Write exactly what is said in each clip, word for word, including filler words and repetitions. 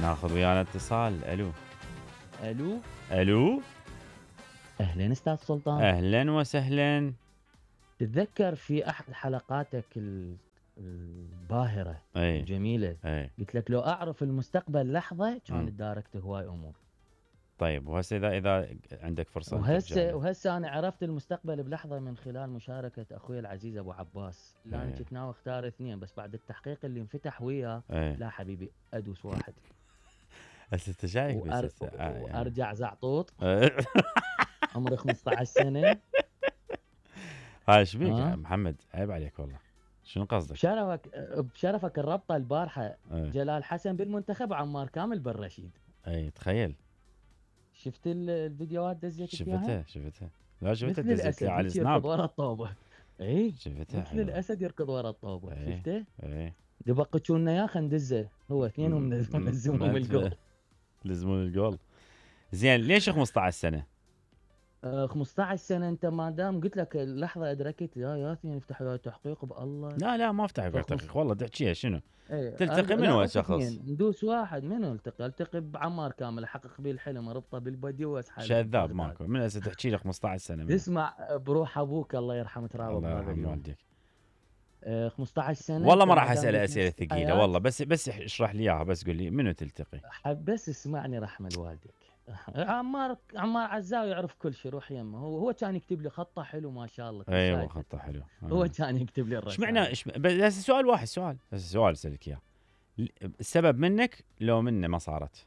ناخذ ويانا اتصال. الو الو الو اهلا استاذ سلطان. اهلا وسهلا. تتذكر في احد حلقاتك ال- الباهره اي الجميله اي قلت لك لو اعرف المستقبل لحظه مم. كان تداركت هواي امور. طيب وهسه اذا اذا عندك فرصه ترجع وهسه له. وهسه انا عرفت المستقبل بلحظه من خلال مشاركه اخوي العزيز ابو عباس. لا انا إيه. كنت ناوي اختار اثنين بس بعد التحقيق اللي انفتح وياه ايه لا حبيبي ادوس واحد هسه انت شايف بس وأر... هسه آه يعني. وارجع زعطوط إيه. عمري خمسة عشر سنه. هاي ايش بيك يا ها محمد؟ عيب عليك والله. شنو قصدك؟ بشرفك بشرفك الربطه البارحه ايه جلال حسن بالمنتخب وعمار كامل بالرشيد. ايه تخيل. شفت ال- الفيديوهات دزيتك اياها؟ شفتها شفتها لا شفتها مثل دزيت لي الاسد على هيك يركض السناب. ورا الطوبه. اي شفتها مثل حلوه. الاسد يركض ورا الطوبه. ايه شفته؟ ايه دبقتشونا يا خندزه هو اثنينهم نلزمهم الجول. لزمون الجول. زين ليش خمسة عشر سنه؟ آه خمسة عشر سنه انت ما دام قلت لك اللحظه ادركت يا ياسين يفتح وياي تحقيق بالله. لا لا ما افتح فخمس- تحقيق والله تحكيها شنو؟ ايه تلتقي أرجع- من لا هو أوف شخص؟ اثنين ندوس واحد منو التقي؟ التقي بعمار كامل احقق به الحلم اربطه بالبدي واسحب شذاب ماكو من هسه تحكي لي خمسة عشر سنه منه. تسمع بروح ابوك الله يرحمه ترابه الله بهذا يرحم اليوم. والديك. آه خمسة عشر سنه والله أنت ما راح دام اسال قلت اسئله نفس ثقيله الحياة. والله بس بس اشرح لي اياها بس قول لي منو تلتقي؟ حب بس اسمعني رحمه والديك. عمار عمار عزاوي يعرف كل شيء روح يمه. هو هو كان يكتب لي خطه حلو ما شاء الله. ايوه شايفه. خطه حلو. هو آه. كان يكتب لي ايش الرسائل. معنى ايش بس هسه سؤال واحد سؤال هسه سؤال اسالك اياه. السبب منك لو منه ما صارت؟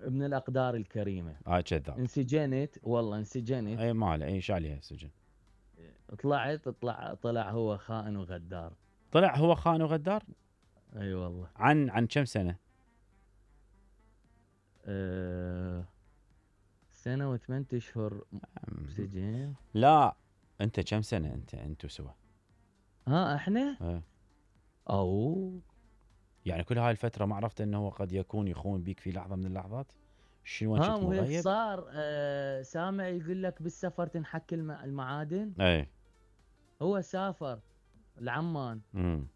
من الاقدار الكريمه. هاي كذاب. انسجنت والله انسجنت. اي ماله اي ايش عليها السجن؟ طلعت طلع طلع هو خائن وغدار. طلع هو خان وغدار؟ اي أيوة والله. عن عن كم سنه؟ أه سنه وثمانية اشهر سجن. لا انت كم سنه انت انتوا سوا؟ ها احنا اه. او يعني كل هاي الفتره ما عرفت انه هو قد يكون يخون بيك في لحظه من اللحظات؟ شنو ها كنت مو هيك مغيب؟ صار. أه سامع يقول لك بالسفر تنحك الم- المعادن. اي هو سافر لعمان امم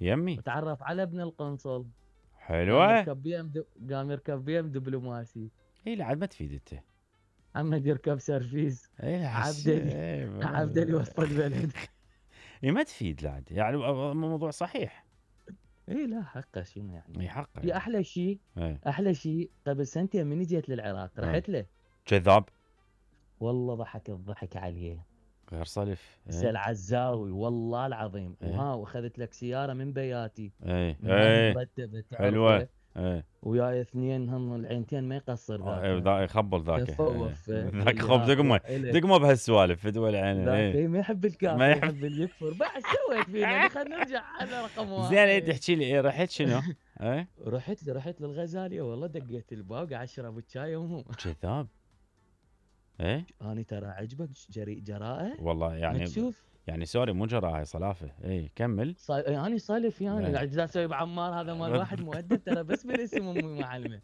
يمي وتعرف على ابن القنصل. قام حلوه. يركب بي ام دو... قام يركب بي ام دبلوماسي. اي لا عاد ما تفيد انت. محمد يركب سيرفيس. اي لا عبدلي عبدلي وسط البلد. اي ما تفيد لا عاد يعني الموضوع صحيح. اي لا حقه شنو يعني. اي حقه في احلى شيء اي احلى شيء قبل سنتين من جيت للعراق رحت له. كذاب والله ضحك الضحك عليه. غير صلف. سال عزاوي والله العظيم. إيه. وها واخذت لك سياره من بياتي. اي ما اي مرتبه حلوه. تعرفه. اي وياي اثنين هم العينتين ما يقصر ذاك. اي ذا يخبل ذاك. كفه ووفه. ذاك خب دقمه دقمه بهالسوالف في دول العين. ذاك اي ما يحب الكافر ما ما يحب. يحب اللي يكفر. بعد سويت فينا خلينا نرجع على رقم واحد. زين اي تحكي لي ايه رحت شنو؟ اي رحت لي رحت للغزاليه والله دقيت الباب قاعد اشرب الشاي وهم. كذاب. ايه اني ترى عجبك جريء جراءه. والله يعني تشوف يعني سوري مو جراء هاي صلافه. اي كمل. صا... يعني صالف يعني إيه. قاعد اسوي بعمار هذا مال واحد مؤدب ترى بس بالاسم امي معلمه.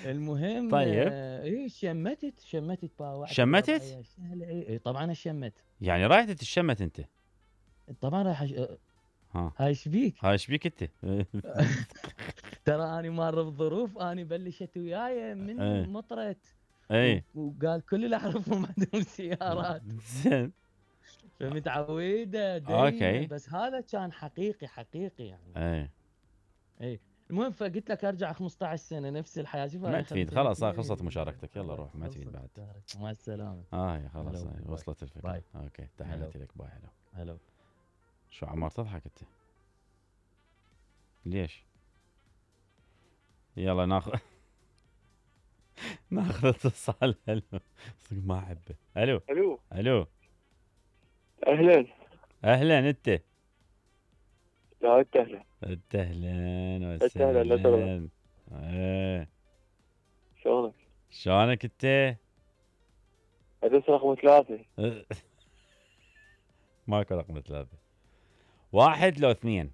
المهم طيب. آه، ايه شمتت شمتت باوعت. شمتت؟ سهله اي إيه طبعا شمت. يعني رايح تتشمت انت؟ طبعا راح أش... ها هاي ايش بيك؟ هاي ايش بيك انت؟ ترى اني مر بظروف اني بلشت وياي من إيه. مطرت. اي وقال كل اللي اعرفهم عندهم سيارات. زين فمتعوده دايما. أوكي. بس هذا كان حقيقي حقيقي يعني. اي اي المهم فقلت لك ارجع خمسة عشر سنه نفس الحياه. شوف ما هاي تفيد خمسين خلاص هاي سنة. خلصت مشاركتك يلا روح ما خلصت تفيد بعد. مشاركة. مع السلامه. اه هي خلاص هلا هاي باي. وصلت الفكره. باي. اوكي تحياتي لك باي. هلا هلا. شو عمار تضحك انت؟ ليش؟ يلا ناخذ ناخذ اتصال. الو صدق ما احبه. الو الو الو اهلا. اهلا انت. لا انت اهلا. انت اهلا أنت أهلاً، لا وسهلا. ايه شلونك؟ شلونك انت؟ ادرس رقم ثلاثة. ماكو رقم ثلاثة. واحد لو اثنين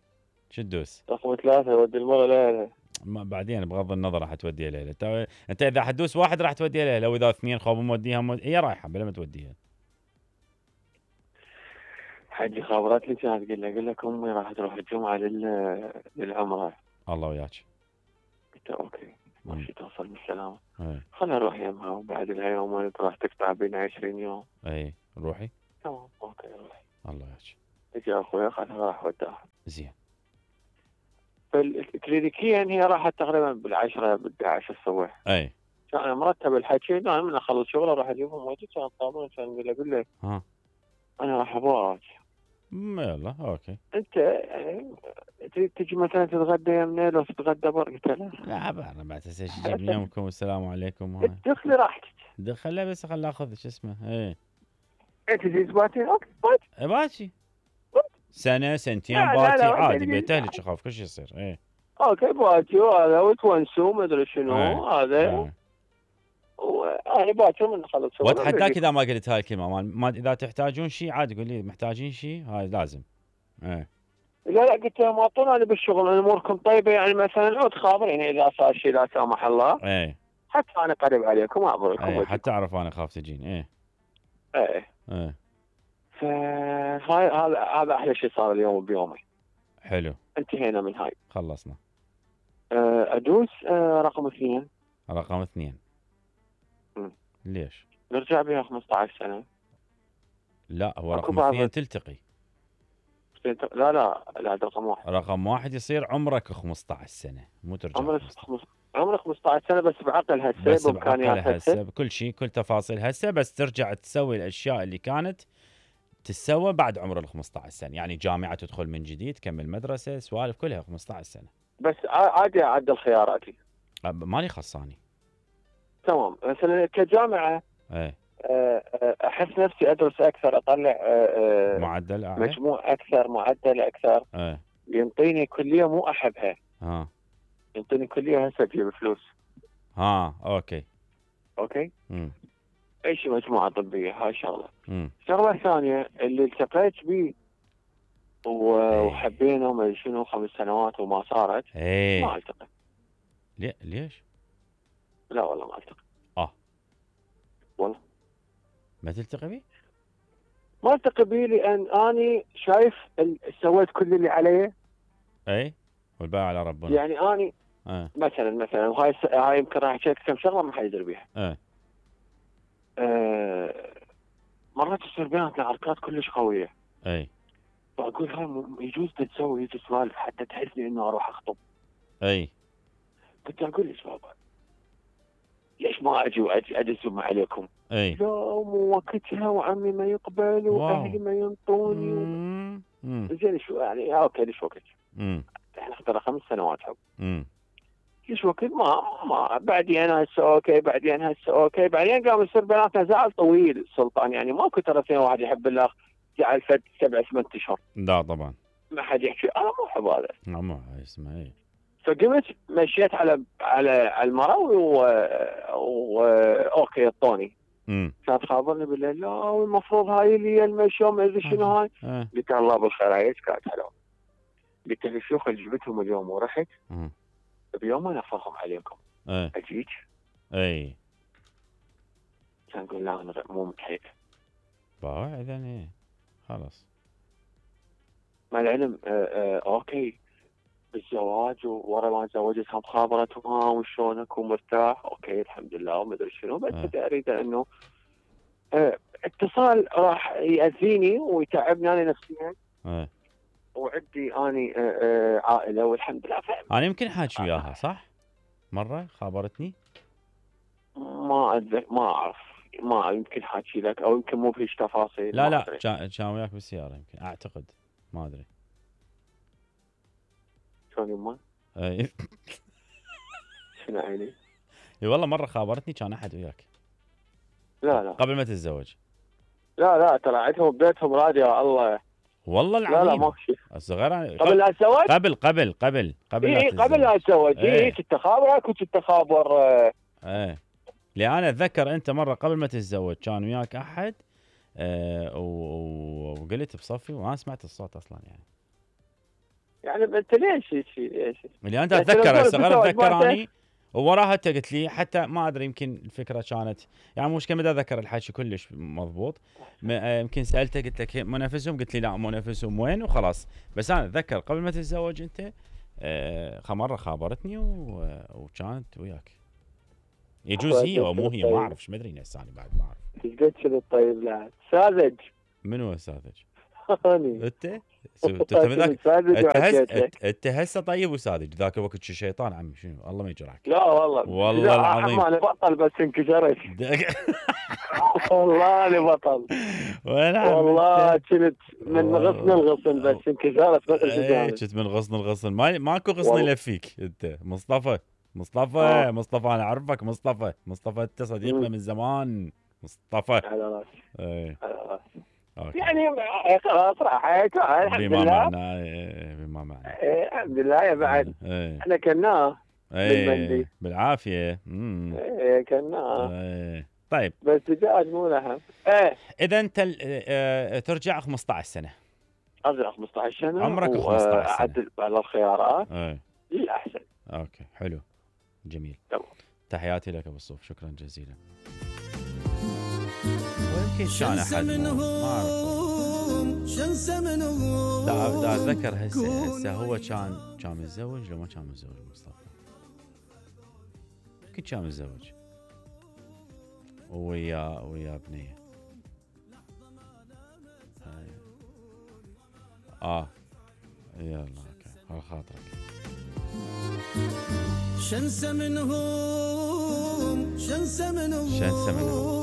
شو تدوس؟ رقم ثلاثة ودي المرة لها. ما بعدين بغض النظر راح توديها ليلة. انت انت اذا حتدوس واحد راح توديها ليلة واذا اثنين خوب موديها مود... هي رايحة بلا ما توديها. حجي خابرت لي كانت قل اقول لك امي راح تروح الجمعة لل... للعمرة. الله وياك. قلت له اوكي مم. ماشي توصل بالسلامة. اي خلنا نروح يمها وبعد لها يومين راح تقطع بينا عشرين يوم. اي روحي. تمام اوكي روحي. الله يحكي. اجى اخوي اخذها راح وداها. زين. فالكلينيكيا هي راحت تقريبا بالعشرة بالحداشر عشر الصبح. اي كان مرتب الحكي انا من اخلص شغله اروح اجيبهم واجي كان طابون كان يقول له اقول له ها انا راح ابوك. م- يلا اوكي. انت يعني تريد تجي مثلا تتغدى يمنا لو تتغدى بر قلت له لا انا بعد هسه ايش يجيب لي يومكم والسلام عليكم هاي. ادخلي راحتك. دخله بس خل اخذ شو اسمه. اي انت تجي سباتين اوكي بات. باجي سنه سنتين لا، لا، باتي لا، عادي لا، بيت لا. اهلك اخاف كل شيء يصير. اي اوكي باتي وهذا وتونسوا ما ادري شنو إيه. هذا. إيه. وانا باكر من اخلص شغله. واتحداك اذا ما قلت هاي الكلمه مال ما اذا تحتاجون شيء عادي قول لي محتاجين شيء هاي لازم. ايه لا لا قلت لهم اعطونا انا بالشغل اموركم طيبه يعني مثلا عود خابر يعني اذا صار شيء لا سامح الله ايه حتى انا قريب عليكم اعبركم. ايه حتى اعرف انا خاف تجين. ايه ايه ايه فهاي هذا هذا احلى شيء صار اليوم بيومي. حلو انتهينا من هاي. خلصنا. أه، ادوس أه، رقم اثنين. رقم اثنين. مم. ليش؟ نرجع بها خمسة عشر سنه. لا هو أكو رقم بعض- اثنين تلتقي. لا لا لا هذا رقم واحد. رقم واحد يصير عمرك خمسة عشر سنه مو ترجع عمرك خمسة عشر. خمس- عمرك خمسة عشر سنه بس بعقل هسه بس بامكانيات بعقل هسه. هسه بكل شيء كل تفاصيل هسه بس ترجع تسوي الاشياء اللي كانت تسوى بعد عمر ال خمسة عشر سنه يعني جامعه تدخل من جديد تكمل مدرسه سوالف كلها خمسة عشر سنه. بس ع- عادي اعدل خياراتي. أب- مالي خصاني. تمام مثلا كجامعه ايه أه، أه، احس نفسي ادرس اكثر اطلع أه، أه، معدل اعلى. مجموع اكثر معدل اكثر. ايه ينطيني كليه مو احبها. ها ينطيني كليه هسه تجيب فلوس. ها اوكي. اوكي امم اي شيء مجموعه طبيه هاي شغله. امم الشغله الثانيه اللي التقيت به و- إيه. وحبينا وما أدري شنو خمس سنوات وما صارت. ما ايه التقي. ليه ليش؟ لا والله ما التقي. اه والله ما تلتقي بي؟ ما التقي به لان اني شايف ال- سويت كل اللي علي. اي والباقي على ربنا. يعني اني ايه مثلا مثلا وهاي الس- هاي يمكن راح احكي لك كم شغله ما حد يدري بيها. ايه أه مرات تصير بيناتنا عركات كلش قويه. اي فاقول هاي م- يجوز تسوي هيك سوالف حتى تحسني انه اروح اخطب. اي كنت اقول ليش بابا ليش ما اجي واجي ادزم عليكم؟ اي لا مو وقتها وعمي ما يقبل واهلي ما ينطوني. امم امم زين شو يعني آه اوكي ليش وقت؟ امم احنا اخترنا خمس سنوات حب. امم ليش وقت ما ما بعدين هسه اوكي بعدين هسه اوكي بعدين قام يصير بيناتنا زعل طويل سلطان يعني ماكو ترى اثنين واحد يحب الاخ زعل فد سبع ثمان اشهر. لا طبعا. ما حد يحكي انا مو احب هذا. مو هاي اسمها اي. فقمت مشيت على على على المرة و... و... اوكي الطوني امم كانت خابرني بالليل لا والمفروض هاي اللي المشي ما ادري شنو هاي. ايه قلت الله بالخير هاي ايش كانت حلوه. قلت له شوف اللي جبتهم اليوم ورحت مم. بيوم انا افرهم عليكم ايه اجيك. اي كان يقول لا انا مو متحيل. باوع اذا ايه خلاص. مع العلم آه آه اوكي بالزواج ورا ما تزوجت هم خابرتهم ها وشلونك ومرتاح اوكي الحمد لله وما ادري شنو بس آه. اريد انه آه اتصال راح ياذيني ويتعبني انا نفسيا ايه وعندي اني آه آه عائله والحمد لله فاهم. انا يمكن حاكي وياها صح؟ مره خابرتني. ما أدري ما اعرف ما يمكن حاكي لك او يمكن مو بهيج تفاصيل. لا ما لا أدري. كان كان وياك بالسياره يمكن اعتقد ما ادري. شلون يما اي شنو عيني؟ اي والله مره خابرتني كان احد وياك لا لا قبل ما تتزوج. لا لا ترى عندهم بيتهم راديو يا الله. والله لا العظيم. لا ماكو شيء. الصغير أنا- قبل لا اتزوج؟ قبل قبل قبل قبل اي لا قبل لا اتزوج إيه. اي كنت اخابرك وكنت اخابر آه، ايه لان انا اتذكر انت مره قبل ما تتزوج كان وياك احد آه و- وقلت بصفي وما سمعت الصوت اصلا يعني. يعني انت ليش هيك ليش؟ اللي انت بس اتذكر لو الصغير تتزوج اتذكر ما اني ووراها انت قلت لي حتى ما ادري يمكن الفكره كانت يعني مش كم اتذكر الحكي كلش مضبوط. م- آه، يمكن سالته قلت لك مو نفسهم قلت لي لا مو نفسهم وين وخلاص. بس انا اتذكر قبل ما تتزوج انت آه مره خابرتني و... وكانت وياك. يجوز هي او مو هي، ما اعرف، ايش مدري هسه انا بعد ما اعرف. ايش قد شنو الطيب لا ساذج. منو ساذج؟ اني انت انت ذاك انت هسه انت هسه طيب وساذج، ذاك الوقت شو شيطان عمي شنو الله ما يجرحك. لا والله والله العظيم انا بطل بس انكسرت. والله انا بطل وين والله كنت من غصن الغصن بس انكسرت بس ايه كنت من غصن الغصن ما ماكو غصن يلفيك انت. مصطفى مصطفى آه. مصطفى انا اعرفك مصطفى مصطفى انت صديقنا من زمان مصطفى. على راسي ايه على راسي أوكي. يعني خلاص راح الحمد بما لله. معناه إيه بما معناه إيه الحمد لله يا بعد. ايه احنا كناه ايه بالمندي. بالعافيه. امم ايه كناه ايه طيب بس دجاج مو لحم. ايه اذا انت اه ترجع خمسة عشر سنه، ازرق خمسة عشر سنه عمرك خمسة عشر سنة. اعدل على الخيارات ايه للاحسن. اوكي حلو جميل. تمام. تحياتي لك ابو الصوف، شكرا جزيلا. ويمكن كان احد ما اعرف دا, دا اتذكر هسه هسه هو كان كان متزوج لو ما كان متزوج مصطفى؟ يمكن كان متزوج ويا ويا بنيه. هاي اه يلا اوكي على خاطرك. شنسه منهم شنسه منهم شنسه منهم